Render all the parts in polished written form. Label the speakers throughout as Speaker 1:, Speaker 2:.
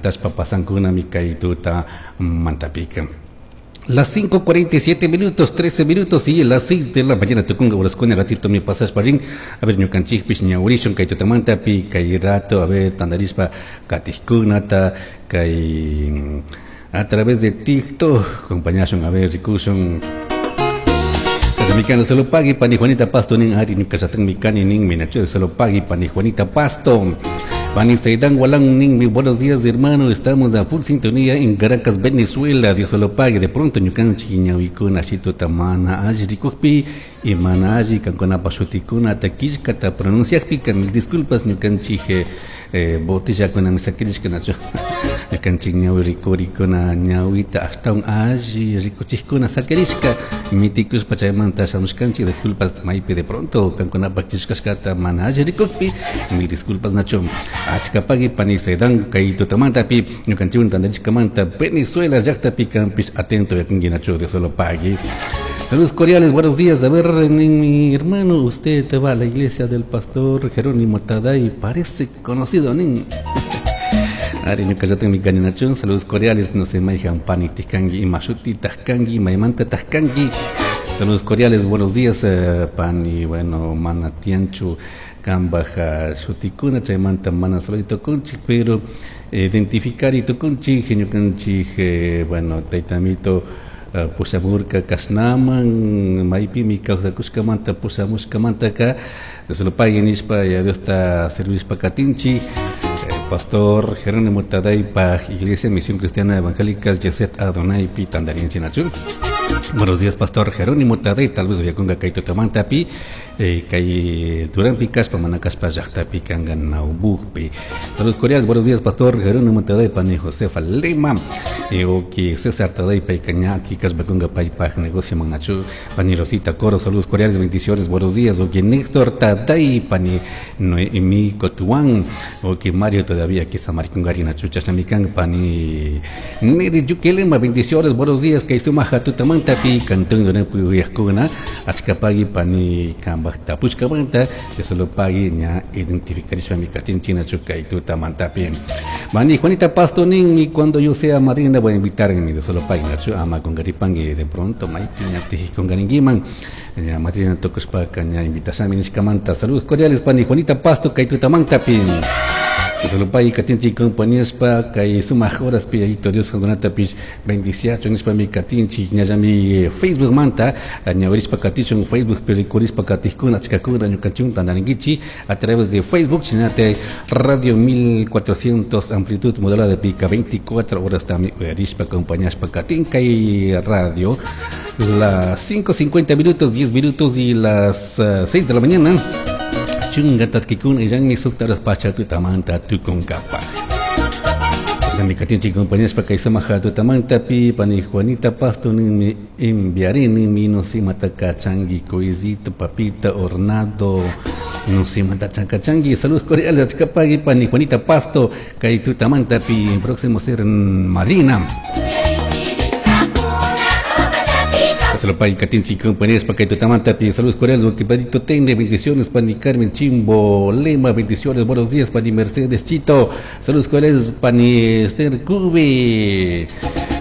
Speaker 1: Pactashpa pasankunami kay tuta mantapika. Las 5:47 minutos, 13 minutos y las 6 de la mañana tukunga horaskuna ratito mi pasashpa rin. A ver, ñukanchikpish ñawirishun kay tutamantapi kay rato, a ver, tandarishpa katijkunata kay a través de TikTok acompañashun, a ver, rikushun. Mikano solo pagui pani Juanita Pasto nin ari ñuka mikani nin minachu solo pagui pani Juanita Pasto. Pani Seidan Walán nin mi buenos días, hermano, estamos a full sintonía en Caracas, Venezuela. Dios solo pague. De pronto ñukanchik ñawikuna shituta mana alli rikukpi y mana alli kankunapa shutikuna killkata pronunciakpika mil disculpas, ñukanchik botellakuna misakirishka nachu. Ñukanchik ñawi rikurikuna ñawita ashtawan alli rikuchikuna sakirishka mitikushpa chaymanta shamushkanchik. Disculpas maypi de pronto kankunapa killkashkata mana alli rikukpi, mil disculpas nachu. Achka pagui pani Seidan kay tutamantapi ñukanchikwan tandarishkamanta Venezuela llaqtapi kanpish atento yakunki nachu. Dios solo pagui. Saludos cordiales, buenos días. A ver, mi hermano, usted va a la iglesia del pastor Jerónimo Taday, parece conocido, nin. Ari ñuka llatin mi cañanachun, saludos cordiales, no sé, maijan pani tijkangi, imashuti tajkangi, maymanta tajkangi. Saludos cordiales, buenos días, pani, bueno, mana tianchu, kambaja shutikuna, chaymanta mana saludito kunchik, pero identificar y tukunchik, ñukanchik, bueno, taytamito, pushamurka kashnaman maypimi kawsakushkamanta pushamushkamantaka solo pagui nishpa ya Diosta servishpa katinchik. Pastor Jerónimo Taday pa Iglesia Misión Cristiana Evangélica Yeset Adonai pi tandarinchi nachu. Buenos días, Pastor Jerónimo Taday, tal vez uyakunga kay tutamantapi, kay Duranpi kaspa mana kaspa llaqtapi kanga Naubujpi. Saludos cordiales, buenos días, Pastor Jerónimo Taday, pani Josefa Lema, oki César Taday pay kañaki kaspa kunga paypaj negocio manachu, pani Rosita Coro, saludos cordiales, bendiciones, buenos días, oki Néstor Taday, pani Noemi Cotuán, oki Mario todavía aquí samarikungari nachu, chashnamikan, pani Neri Yukelema, bendiciones, buenos días, kay sumaja tutamantapi, cantón de uyajkuna, achkapagui pani kambaj tapushkamanta, solo pagui ña identificarishpa mi katinchi nachu kay tutamantapi. Mani Juanita Pasto nin, cuando yo sea madrina voy a invitar en mi de solo pagui nachu, ama con garipangui de pronto, maipi ña con garinguiman, ña madrina tokushpa ña invitashami nishkamanta. Saludos cordiales pani Juanita Pasto kay tutamantapi. Solo pay katinchi compañíaspa kay sumaj horas pi ayito Dios kankunatapish bendiciacho nishpa mi katinchi ñallami Facebook manta ñawirishpa katishun Facebook pi rikurishpa katijkuna achkakuna ñukanchikuna tandarinkichi a través de Facebook chinate Radio 1400 amplitud modulada de pica 24 horas también uyarishpa compañíaspa katin kay radio las 5:50 minutos 10 minutos y las 6 de la mañana. Chunga tatkikun illanmi suktaras pacha tutamanta tukunkapa. Mi katinchi compañeros pa kay samaja tutamanta pi pani Juanita Pasto ni enviaré ni mi no si mataka changi coisito papita hornado no si mata changi. Saludos cordiales achkapagui pani Juanita Pasto kay tutamanta pi próximo ser madrina. Solo pay katinchi compañeros pa kay tutamanta pi saludos cordiales porque Tende, bendiciones pani Carmen Chimbo Lema, bendiciones, buenos días pani Mercedes Chito, saludos cordiales pani Esther Cube,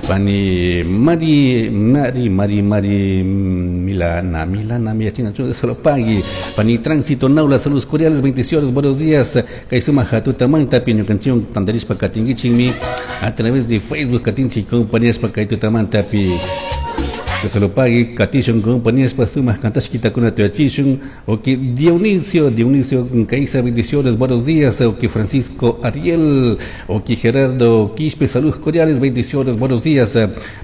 Speaker 1: pani Mari Mari Mari Mari Milana Milana Miachina solo pagui pani Tránsito Naula, saludos cordiales, bendiciones, buenos días kay sumaja tutamanta pi ñukanchik tandarishpa katinkichikmi a través de Facebook katinchi compañeros pa kay tutamanta pi. Solo pague katishun compañías pasumas kantashkita kuna tuyachishun ok Dionisio Dionisio Caiza, bendiciones, buenos días, ok Francisco Ariel, ok Gerardo Quispe, saludos cordiales, bendiciones, buenos días,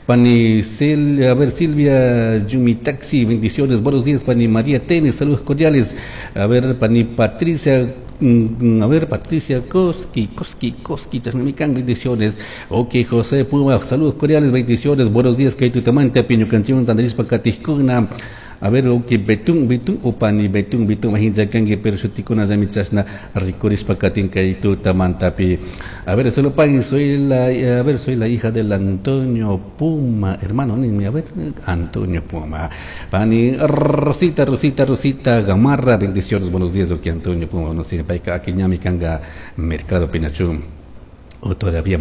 Speaker 1: pani Cel, a ver Silvia Yumi Taxi, bendiciones, buenos días, pani María Tenes, saludos cordiales, a ver pani Patricia, a ver, Patricia Koski, Koski, Koski, Chasnamican, bendiciones. Ok, José Puma, saludos cordiales, bendiciones, buenos días, que tutamante, piño canción, tandarispa katijkuna. A ver, ok, betún, betún, opani, betún, betún, majinchakangi, pero shutikuna, yamichasna, rikurispa katinka y tutamantapi. A ver, solo paguen, soy la, a ver, soy la hija del Antonio Puma, hermano, a ver, Antonio Puma. Pani, Rosita, Rosita, Rosita, Gamarra, bendiciones, buenos días, ok, Antonio Puma, no sé, paika, aquí ñami kanga, Mercado Pinachú, o todavía.